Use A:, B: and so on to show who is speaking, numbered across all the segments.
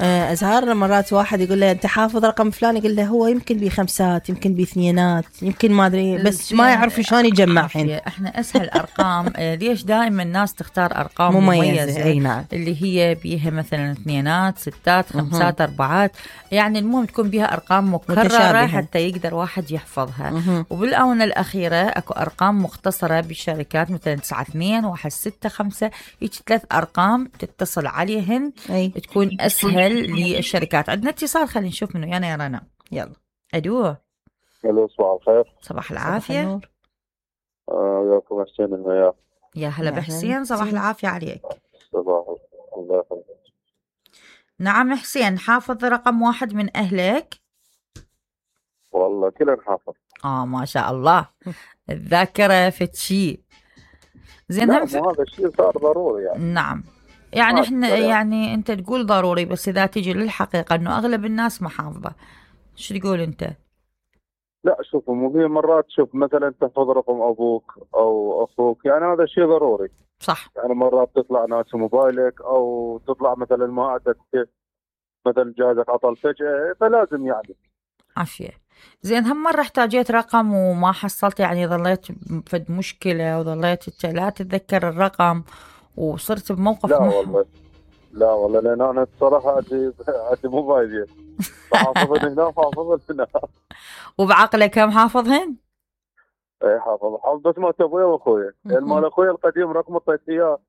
A: أزهار مرات واحد يقول له أنت حافظ رقم فلان، يقول له هو يمكن بخمسات، يمكن باثنينات، يمكن ما أدري، بس ما يعرف شلون يجمعهن.
B: احنا أسهل أرقام ليش دائما الناس تختار أرقام مميزة؟
A: أي نعم.
B: اللي هي بيها مثلا اثنينات، ستات، خمسات، أربعات، يعني المهم تكون بيها أرقام مكررة حتى يقدر واحد يحفظها. وبالآونة الأخيرة أكو أرقام مختصرة بالشركات مثلا 92 165، هيك 3 أرقام تتصل عليهن تكون أسهل للشركات. عندنا اتصال، خلينا نشوف منه. يا رنا، يلا. ألو.
C: صباح الخير.
B: صباح العافية.
C: وياكم حسين المياه.
B: يا هلا بحسين، صباح العافية عليك.
C: صباح الله يخليك.
B: نعم حسين، حافظ رقم واحد من أهلك؟
C: والله كلنا حافظ.
B: ما شاء الله، الذاكرة فتشي زين.
C: هذا الشيء صار ضروري يعني.
B: نعم، يعني احنا يعني انت تقول ضروري، بس اذا تيجي للحقيقة انه اغلب الناس ما حافظة، شو تقول انت؟
C: لا شوف، مو مرات شوف مثلا تحفظ رقم ابوك او اخوك، يعني هذا شيء ضروري.
B: صح.
C: يعني مرات تطلع ناس موبايلك، او تطلع مثلا ما عندك مثلا جهازك عطل فجأة، فلازم يعني.
B: عافية. زين، هم مرة احتاجيت رقم وما حصلت، يعني ظليت فد مشكلة وظليت لا تتذكر الرقم وصرت بموقف
C: لا والله لان انا الصراحة عندي موبايلي فحافظن هنا وحافظن هنا.
B: وبعقلك كم حافظهن؟
C: اي حافظ بس ما ابويا واخويا، لان مال اخويا القديم رقم طيت اياه.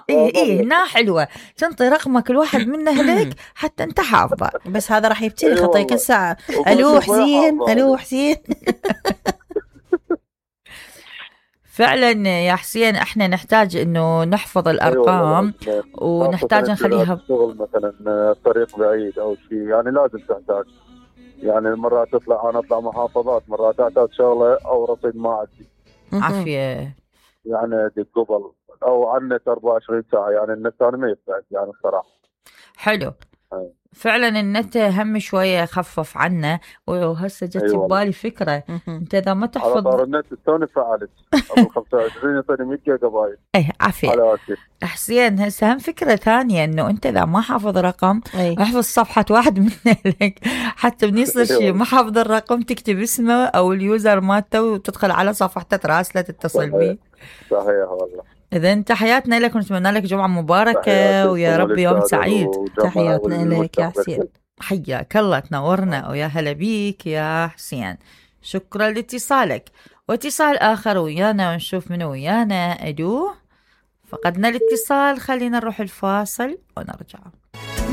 B: ايه هنا حلوة، تنطي رقمك الواحد من اهلك حتى انت حافظه.
A: بس هذا راح يبتلي خطيك الساعة. الو حسين، الو حسين.
B: فعلا يا حسين، احنا نحتاج انه نحفظ الارقام ونحتاج نخليها
C: شغل مثلا طريق بعيد او شيء، يعني لازم تحتاج. يعني مرات انا اطلع محافظات، مرات احتاج شغله او رصيد ما عندي.
B: عافية.
C: يعني قبل او عنت 24 ساعه، يعني النت انا ما يفتح يعني الصراحه.
B: حلو. فعلا النت هم شويه خفف عنا. وهسه جت ببالي فكره، انت اذا ما تحفظ
C: على طار النت توني فعلت ابو 25 يعطيني 100 جيجا بايت.
B: عافيه حسين. هسه هم فكره ثانيه، انه انت اذا ما حافظ رقم احفظ صفحه واحد من لك، حتى بنيصير شيء ما حافظ الرقم تكتب اسمه او اليوزر مالته وتدخل على صفحته تراسله تتصل به.
C: صحيح والله.
B: إذا أنت حياتنا لك، ونتمنى لك جمعة مباركة ويا رب يوم سعيد.
A: تحياتنا لك يا حسين.
B: حياك الله، تنورنا ويا هلا بيك يا حسين. شكرا لاتصالك. واتصال آخر ويانا ونشوف منه ويانا. ألو، فقدنا الاتصال، خلينا نروح الفاصل ونرجع.